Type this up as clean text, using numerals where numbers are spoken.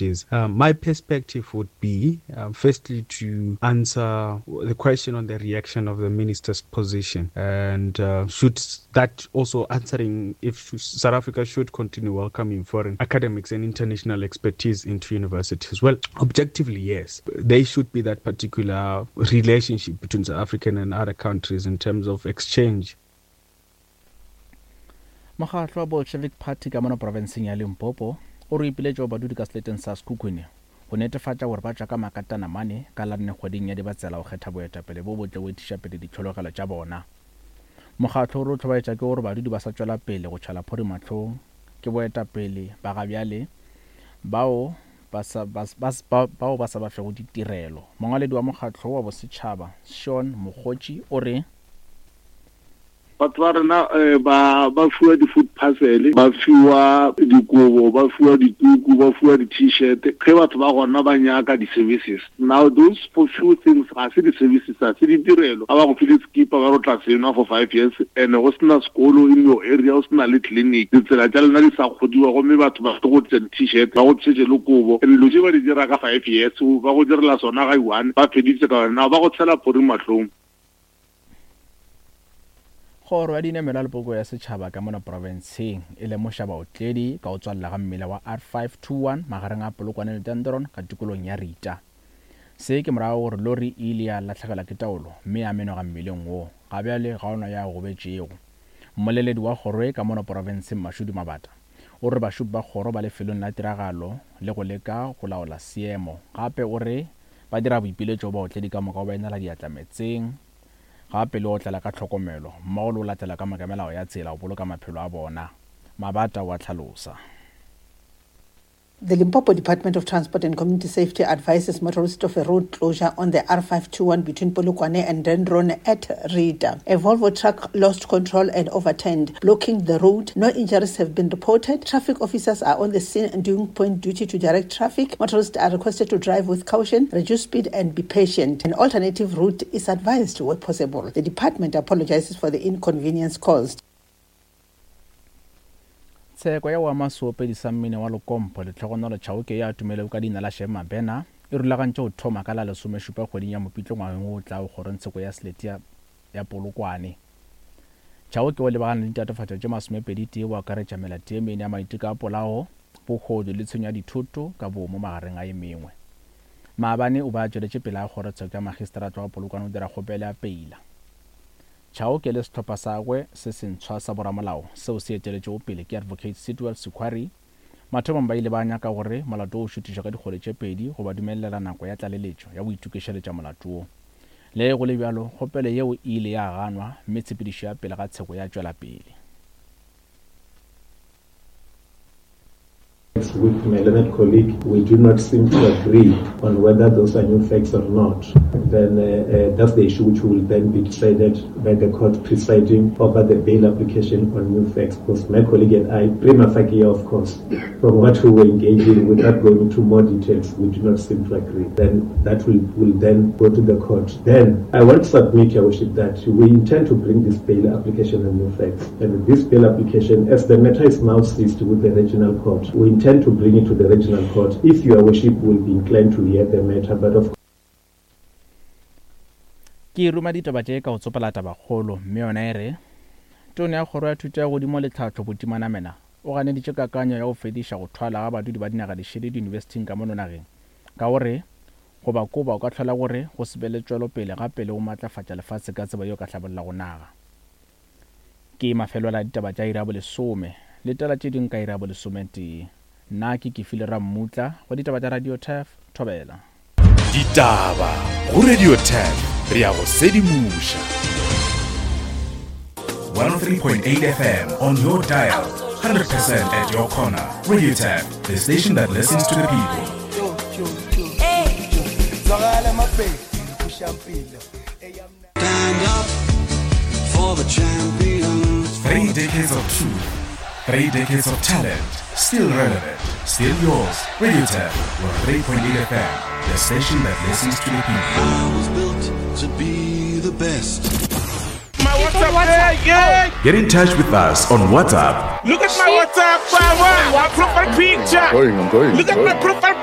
Is. My perspective would be, firstly, to answer the question on the reaction of the minister's position, and should that also answering if South Africa should continue welcoming foreign academics and international expertise into universities. Well, objectively, yes. There should be that particular relationship between South African and other countries in terms of exchange. Mokgatlo wa Bolshevik Party ka mono profenseng ya Limpopo o re o ipiletša go badudi ka seleteng sa Sekhukhune go netefatša gore ba tšwa ka makatana mane ka la nne kgweding ya Dibatsela go kgetha boetapele bo botle go etiša pele ditlhologelo tša bona. Mokgatlo o re o hlobaetša ke gore badudi ba sa tšwela pele go tšhela phori mahlong ke boetapele ba ga bjale bao ba sa, ba, ba, ba, bao ba sa ba fego ditirelo. Mongwaledi wa mokgatlo wa bosetšhaba Sean Mokgotši o re. Batho ba rena ba ba fiwa di-food parcel, ba fiwa dikobo, ba fiwa dituku, ba fiwa di-t-shirt ge batho ba gona ba nyaka di-services. Now those for few things ga se di-services, ga se ditirelo. Ga ba go file sekipa ba re o tla se nwa for 5 years and go sena sekolo in your area, go sena le clinic, ditsela tša lena di sa kgodiwa gomme batho ba tlo go tliša di-t-shirt ba go tlišetše le kobo and dilo tše ba di dira ka 5 years, ba go direla sona ga i-one ba feditse ka wena. Now ba go tshela phori mahlong. Kgoro ya Dinamelwa le Poloko ya Setšhaba ka mono profenseng e lemoša baotledi ka go tswalela ga mmila wa R521 magareng a Polokwane le Dendron ka tikolong ya Rita. Se ke morago gore lori e ile ya lahlegelwa ke taolo mme ya menoga mmileng wo. Ga bjale ga ona yo a gobetšego. Mmoleledi wa kgoro ye ka mono profenseng Mashudu Mabata o re bašopi ba kgoro ba lefelong la tiragalo le go leka go laola seemo. Gape o re Ba dira boipiletšo go baotledi ka moka go ba inela diatla meetseng, gape le go otlela ka tlhokomelo, mmogo le go latela ka moka melao ya tsela go boloka maphelo a bona, Mabata o a hlalosa. The Limpopo Department of Transport and Community Safety advises motorists of a road closure on the R521 between Polokwane and Dendron at Rita. A Volvo truck lost control and overturned, blocking the road. No injuries have been reported. Traffic officers are on the scene and doing point duty to direct traffic. Motorists are requested to drive with caution, reduce speed and be patient. An alternative route is advised where possible. The department apologizes for the inconvenience caused. Tsheko ya go ama seopedi sa mmino wa Lekompo, Lehlogonolo Chauke yo a tumilego ka leina la Shem Mabena, e rulagantšwe go thoma ka la lesomešupa kgweding ya Mopitlo ngwageng wo o tlago kgorongtsheko ya selete ya ya Polokwane. Chauke o lebagane le ditatofatšo tše masomepedi-tee go akaretša melato ye mene ya maiteko a polao, bohodu le tshenyo ya dithoto ka boomo magareng a ye mengwe. Maabane o be a tšweletše pele ga kgorotsheko ya magistrata wa Polokwane go dira kgopelo ya peila. Chauke le sehlopha sa gagwe se sentshwa sa boramolao seo se eteletšwego pele ke Advocate Sidwell Sikhwari, mathomong ba ile ba nyaka gore molato wo o šuthišwe ka dikgwedi tše pedi go ba dumelelela nako ya tlaleletšo ya go itokišeletša molato wo. Le ge go le bjalo, kgopelo yeo e ile ya ganwa mme tshepedišo ya pele ga tsheko ya tšwela pele. With my learned colleague, we do not seem to agree on whether those are new facts or not. Then that's the issue which will then be decided by the court presiding over the bail application on new facts. Because my colleague and I, prima facie, of course, from what we were engaging, without going into more details, we do not seem to agree. Then that will, will then go to the court. Then I want to submit, Your Worship, that we intend to bring this bail application on new facts. And this bail application, as the matter is now seized with the regional court, we intend to bring it to the regional court if Your Worship will be inclined to hear the matter. But of Ke ruma ditaba tše ka go tsopola tabakgolo, mme yona e re, Tona ya Kgoro ya Thuto ya Godimo le Tlhahlo Buti Manamela o ganeditše kakanyo ya go fediša go thwala ga badudi ba dinaga dišele diyunibesithing ka mono nageng ka go re go ba koba o ka hlola gore go se be le tšwelopele gape le go matlafatša lefase ka tsebo yeo ka hlabollago naga. Ke mafelelo a ditaba tša iri ya bolesome. Letela tše dingwe ka iri ya bolesometee. Nna ke Kefilwe Rammutla go ditaba tša Radio Turf, Thobela. Ditaba go Radio Turf, re a go sedimoša. 103.8 FM on your dial, 100% at your corner. Radio Turf, the station that listens to the people. Stand up for the champions. 3 decades of truth, 3 decades of talent, still relevant, still yours. Radio Turf, 103.8 FM, the station that listens to the people. I was built to be the best. My WhatsApp. WhatsApp. Yeah, yeah. Get in touch with us on WhatsApp Look at my WhatsApp. My profile picture. I'm going, I'm going. Look at my profile picture.